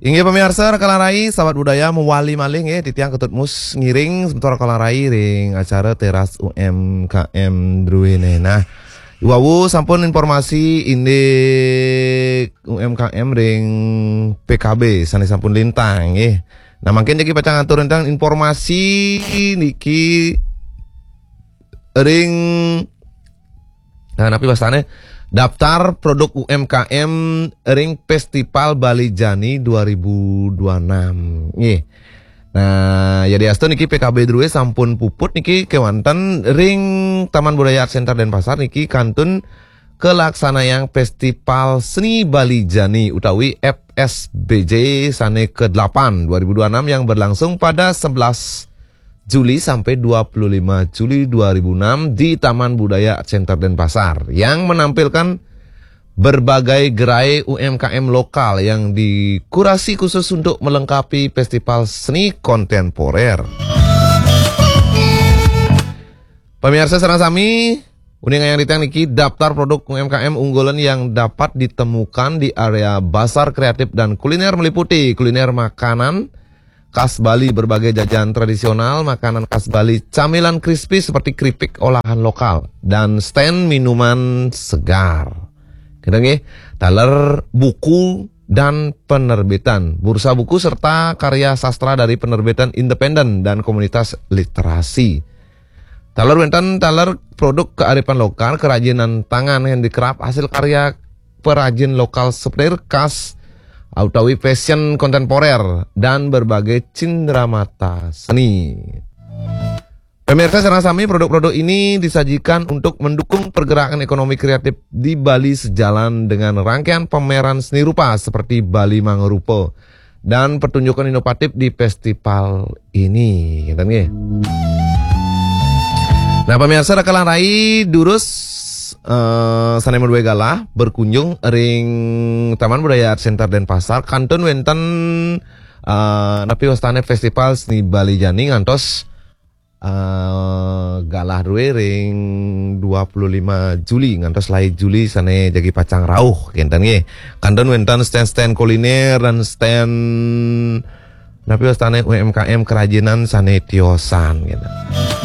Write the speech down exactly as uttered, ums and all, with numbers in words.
Inggih pamiarsa, Raka Larai, sahabat budaya, mawali malih nggih, titiang Ketut Mus ngiring semeton Raka Larai ring acara Teras U M K M druene. Nah, wau sampun informasi indik U M K M ring P K B sane sampun lintang nggih. Nah, mangkin jagi pacang atur tentang informasi niki ring, nah, napi wastane, daftar produk U M K M ring Festival Bali Jani dua ribu dua enam. Nggih. Nah, yadiastu niki P K B druene sampun puput niki kewanten ring Taman Budaya Art Center Denpasar niki kantun kalaksanayang Festival Seni Bali Jani utawi F S B J sane kedelapan dua ribu dua enam yang berlangsung pada sebelas Juli sampai dua puluh lima Juli dua ribu enam di Taman Budaya Center Denpasar yang menampilkan berbagai gerai U M K M lokal yang dikurasi khusus untuk melengkapi festival seni kontemporer. Pemirsa sareng sami, uning ayang ditang niki daftar produk U M K M unggulan yang dapat ditemukan di area Bazar Kreatif dan Kuliner meliputi kuliner makanan khas Bali, berbagai jajan tradisional, makanan khas Bali, camilan crispy seperti keripik olahan lokal, dan stand minuman segar. Kita nggih, taler buku dan penerbitan, bursa buku serta karya sastra dari penerbitan independen dan komunitas literasi. Taler wenten taler produk kearifan lokal, kerajinan tangan, handicraft, hasil karya perajin lokal, souvenir khas utawi fashion kontemporer, dan berbagai cindramata seni. Pemirsa sareng sami, produk-produk ini disajikan untuk mendukung pergerakan ekonomi kreatif di Bali sejalan dengan rangkaian pameran seni rupa seperti Bali Mangrupa dan pertunjukan inovatif di festival ini. Ngeten nggih. Nah, pemirsa, Raka Larai durus eh, sane madue galah berkunjung ring Taman Budaya Art Center Denpasar kantun wenten eh, napi wastane Festival Seni Bali Jani ngantos eh, galah druene ring dua puluh lima Juli ngantos lai Juli sane jagi pacang rauh kenten nggih. Kantun wenten stand-stand kuliner dan stand napi wastane U M K M kerajinan sane tiosan gitu.